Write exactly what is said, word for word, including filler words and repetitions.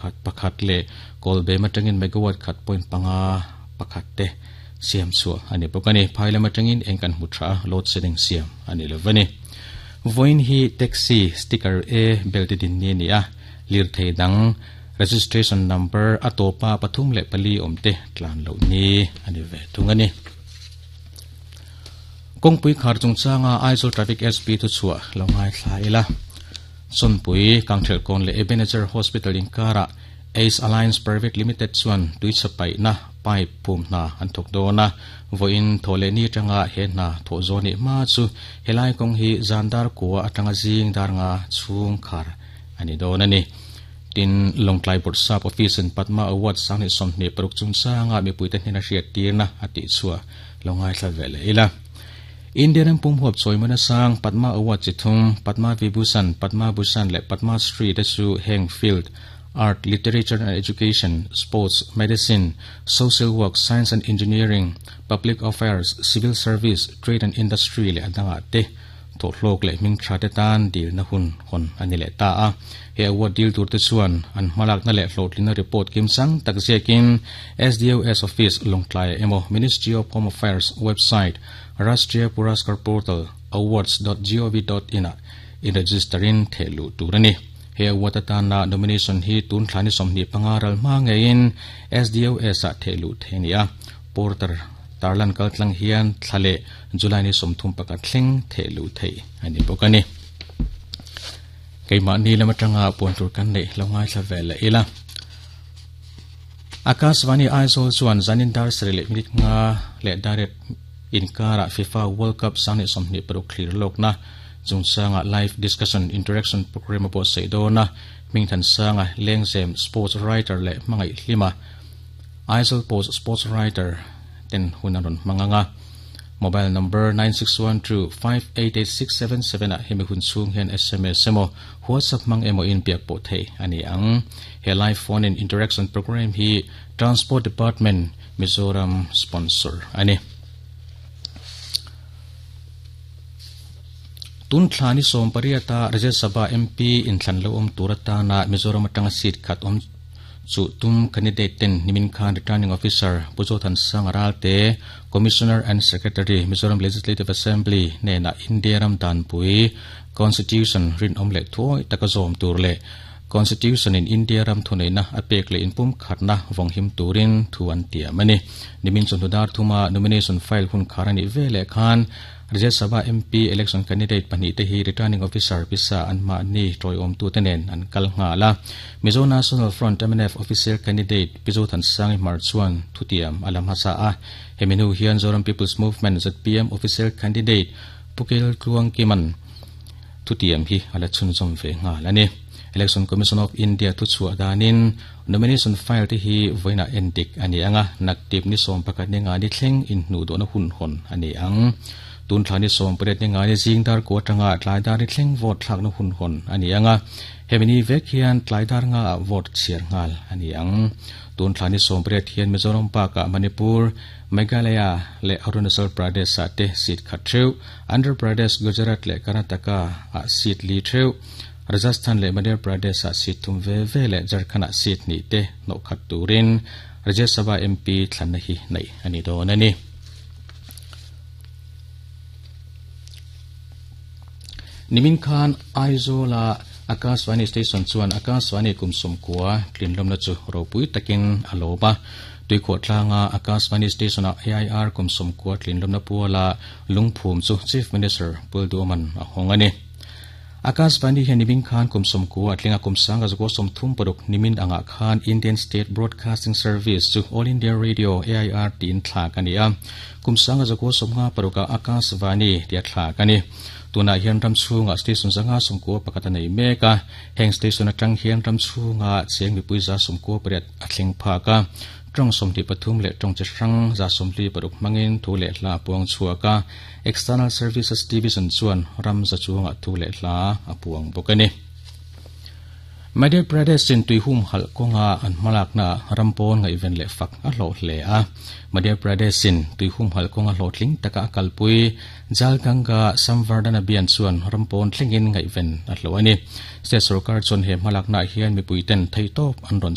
Khat pakhat le Kawlbem atangin megawatt khat point panga pakhat te siam chu ani bawk ani. Phailam atangin eng kan hmu tha load shedding siam ani lovani. Voin hi taxi sticker A belt din ni ni a lir thei dang registration number atopa pathum le pali omte tlan lo ni ani ve thungani. Kongpui khar chungchanga Aizawl Traffic S P thu chua longai thla ila. Chonpui Kangthel kon le Ebenezer Hospital in kara Ace Alliance Private Limited chuan tuichapai na pipe phum na an thok dona voin thole ni tanga he na tho zoni ma chu helai kong hi zandar kuwa atanga jing dar nga chung khar ani dona ni. Tin Longtlai Board Sub Office in Padma Award sang ni somni paruk chungchanga mi puite hna hriat tirna ati chua longai thla vele ila. Indian pum huap choimana sang Padma Award chithum Padma Vibhushan Padma Bhushan le Padma Shri te chu heng field art, literature and education, sports, medicine, social work, science and engineering, public affairs, civil service, trade and industry le adanga te tho hlok le ming tha te tan dil na hun hon ani le ta a. He award deal tur te chuan an hmalak na le hlawhtlina report kim chang tak ziakin S D O S Office Longtlai emo Ministry of Home Affairs website Rashtriya Puraskar Portal awards dot gov dot in a in registerin thelu turani. He award atana nomination hi tun thlani somni pangaral ma ngein S D O S a thelu thenia porter tarlan kaltlang hian thlale July ni somthum paka thleng thelu thei ani bokani. Keima ni lama tanga puan tur kan nei longai thla vela ila. Akashvani Aizawl chuan zanin dar srele minute nga le direct inkara FIFA World Cup sangni somni paruk thlir lokna chungchanga live discussion interaction program po seidona mingthan sanga lengzem sports writer le mangai hlima Aizawl Post sports writer ten hunaron manganga mobile number nine six one two five eight eight six seven seven a hemi hun chung hian S M S emo WhatsApp mang emo in piak po thei ani ang. He live phone in interaction program hi Transport Department Mizoram sponsor ani. Tun thlani som pariata Rajya Sabha M P in thlan lo om turata na Mizoram atanga seat khat om chu tum candidate ten nimin khan returning officer Pujothan Sangaral te Commissioner and Secretary Mizoram Legislative Assembly ne na India ram dan pui Constitution rin om le thoi takazom tur le Constitution in India ram thunei na apek le inpum khatna vonghim turin thuan tia mani. Nimin chundar thuma nomination file hun kharani vele khan Rajya Sabha M P election candidate pani te hi returning officer pisa anma ni troi om tu tenen an kal nga la. Mizo National Front M N F official candidate Pizothan Sangi Marchuan thutiam alam hasa a. Heminu hian Zoram People's Movement Z P M official candidate Pukel Tluang Kiman thutiam hi ala chunzom ve nga la ni. Election Commission of India thu chua danin nomination file te hi voina endik ani anga naktip ni som pakat ni nga ni thleng in hnu do na hun hon ani ang. Tun thlani som pret ni nga ni jingdar ko tanga tlaidar ni thleng vote thlak na hun hon ani anga. Hemini vek hian tlaidar nga vote chiar ngal ani ang. Tun thlani som pret hian Mizoram pa ka Manipur, Meghalaya le Arunachal Pradesh a te seat khat theu, Andhra Pradesh, Gujarat le Karnataka a seat li theu, Rajasthan le Madhya Pradesh a seat thum ve ve le Jharkhand a seat ni te no khat turin Rajya Sabha M P thlan hi nei ani don ani. Nimin khan Aizola Akashvani station chuan Akashvani kumsum kuwa tlinlom na chu ropui takin aloba tuikho tlanga Akashvani station a A I R kumsum kuwa tlinlom na puala lungphum chu Chief Minister Pulduman a hongani. Akashvani hian nimin khan kumsum kuwa tlinga kumsanga zuko somthum paruk nimin anga khan Indian State Broadcasting Service chu All India Radio A I R tin thla kani a kumsanga zuko somnga paruka Akashvani tia thla kani. Tuna hian ram chunga station zanga somko pakata nei meka heng station atang hian ram chunga cheng mi puiza somko pariat athleng phaka tong somti pathum le tong che hrang za somli paruk mangin thu le hla puang chuaka External Services Division chuan ram za chunga thu le hla apuang bokani. Madhya Pradesh in tuihum hal kawnga an hmalakna rampawn ngaihven leh fak a hlawh hle a. Madhya Pradesh in tuihum hal kawnga hlawhtling taka a kalpui Jal Ganga Samvardhan Abhiyan chuan rampawn thlengin ngaihven a hlawh a ni. State sorkar chuan he hmalakna hian mipui ten theitawp an rawn